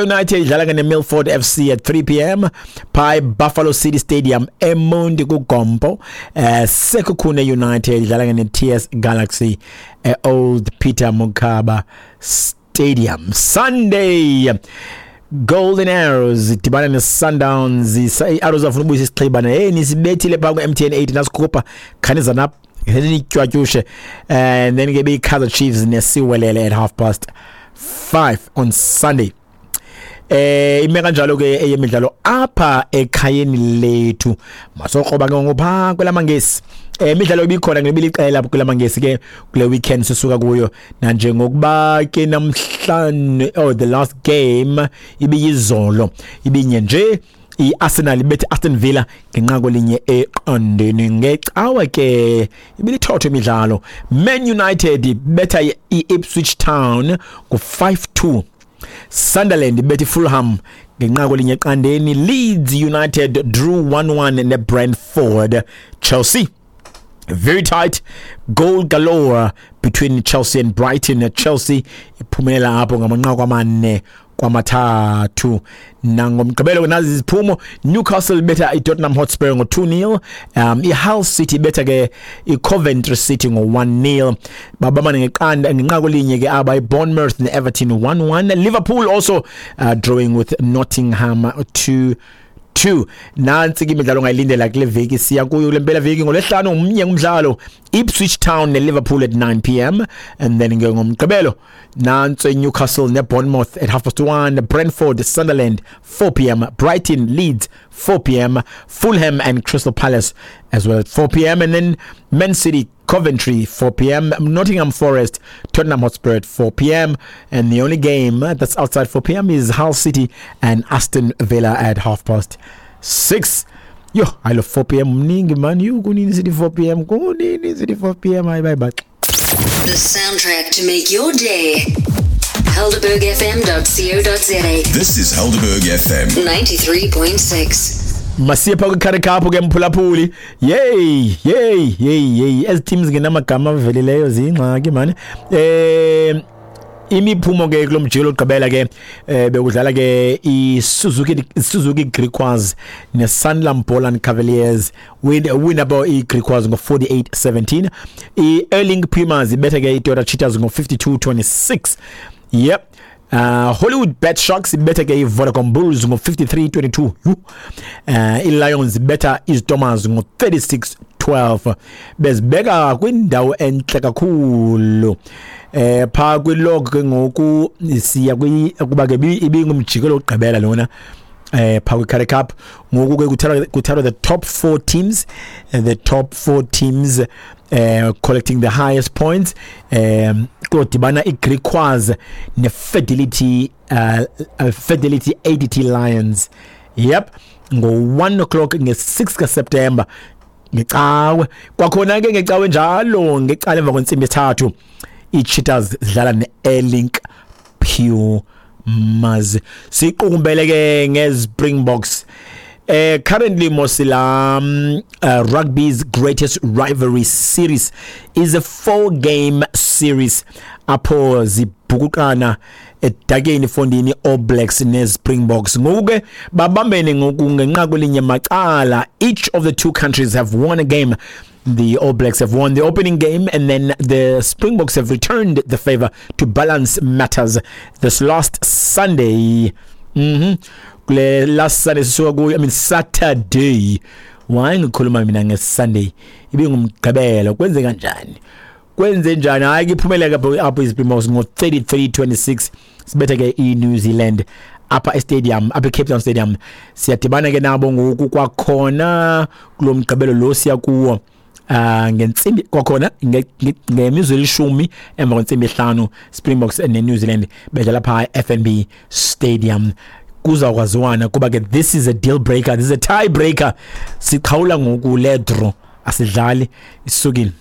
United idlala ke neMilford FC at 3 p.m. pha Buffalo City Stadium eMonti kuGompo. Sekhukhune United idlala ke neTS Galaxy eOld Peter Mokaba Stadium. Sunday, Golden Arrows idibana ne-Sundowns. I-Arrows afuna ubuyisa isixhibana. Hey, nisibethile phaa ku-MTN 8, nasikhupha, khaniza napha nitywatyushe. And then ke beyi-Kaizer Chiefs neSiwelele at 5:30 on Sunday. Ime kanjalo ke eyemidlalo apha ekhayeni lethu. Masokroba ke ngopha kwelamangesi. Imidlalo ibikhona ngebiliqela kwelamangesi ke kule weekend sisuka kuyo, nanjengokuba ke namhlanje, oh, the last game ibiyizolo, ibinye nje, iArsenal ibethe Aston Villa ngenqaku linye eqandeni. Ngecawe ke ibilithotho imidlalo. Man United ibetha iIpswich Town ngo-5-2. Sunderland ibethe Fulham ngenqaku linye eqandeni. Leeds United drew 1-1 neBrentford. Chelsea, very tight goal galore between Chelsea and Brighton. Chelsea iphumelela apho ngamanqaku 4-3. Nangomgqibelo nazi iziphumo: Newcastle betha iTottenham Hotspur ngo-2-0. IHull City betha ke iCoventry City ngo-1-0. Babamane ngeqanda, ngenqaku linye ke aba iBournemouth neEverton, 1-1. Liverpool also drawing with Nottingham 2-2. Nansi ke imidlalo ongayilindela kule veki siya kuyo, kule mpela veki. Ngolwesihlanu umnye umdlalo, Ipswich Town neLiverpool at 9 p.m., and then ke ngomgqibelo nanso Newcastle neBournemouth at 1:30, Brentford Sunderland 4 p.m., Brighton Leeds 4 p.m., Fulham and Crystal Palace as well at 4 p.m., and then Man City Coventry 4 p.m., Nottingham Forest Tottenham Hotspur at 4 p.m., and the only game that's outside 4 p.m. is Hull City and Aston Villa at 6:30. Yo, I love 4 p.m. Mningi man, you kunini sithi 4 p.m., kunini sithi 4 p.m. Hayi, bye bye. The soundtrack to make your day. HelderbergFM.co.za. This is Helderberg FM. 93.6. Masiye pha kwiCurrie Cup ke, mphulaphuli. Yey, yey, yey, yey, ezi teams ngenamagama avelileyo ziyingxaki mani. Imiphumo ke kulo mjikelo ogqibela ke, bekudlala ke iSuzuki Griquas neSanlam Boland Cavaliers. Win about iGriquas ngo-48-17. I-Airlink Pumas ibethe ke iToyota Cheetahs ngo-52-26. Yep. Hollywood Bet Sharks ibethe ke iVodacom Bulls ngo-53-22. I-Lions ibetha iStormers ngo-36-12. Bezibeka kwindawo entle kakhulu pha kwilog ke ngoku siya kuba ke ibingumjikelo ogqibela lona pha kwi-Currie Cup. Ngoku ke kuthathwa the top four teams, the top four teams collecting the highest points. Kodibana iGriquas neFidelity Fidelity ADT Lions, yep, ngo-1 o'clock nge-6 kaSeptember, ngecawe. Kwakhona ke ngecawe njalo, ngecala emva kwentsimbi yesithathu, iCheetahs zidlala ne-Airlink Pumas. Siqukumbele ke ngeSpringboks. Currently Mosila, rugby's greatest rivalry series is a four game series apho zibhukuqana edakeni fondini All Blacks neSpringboks. Ngoku ke babambene ngoku ngenqaku linye macala. Each of the two countries have won a game. The All Blacks have won the opening game, and then the Springboks have returned the favor to balance matters this last Sunday. Kule last Sunday sisuka kuyo, I mean Saturday. Why ngikhuluma mina ngeSunday? Ibingumgqibelo. Kwenze kanjani? Kwenze njani? Hayi, iphumelele apho iSpringboks ngo-33-26, sibethe ke iNew Zealand apha estadium, apha eCape Town Stadium. Siyadibana ke nabo ngoku kwakhona kulo mgqibelo lo siya kuwo, ngentsimbi kwakhona, ngemizuzu 10 emva kwentsimbi 5, Springboks neNew Zealand bedlala pha FNB Stadium. Kuzawukwaziwana kuba ke this is a deal breaker, this is a tie breaker. Siqhawula ngoku le draw, asidlali, isukile.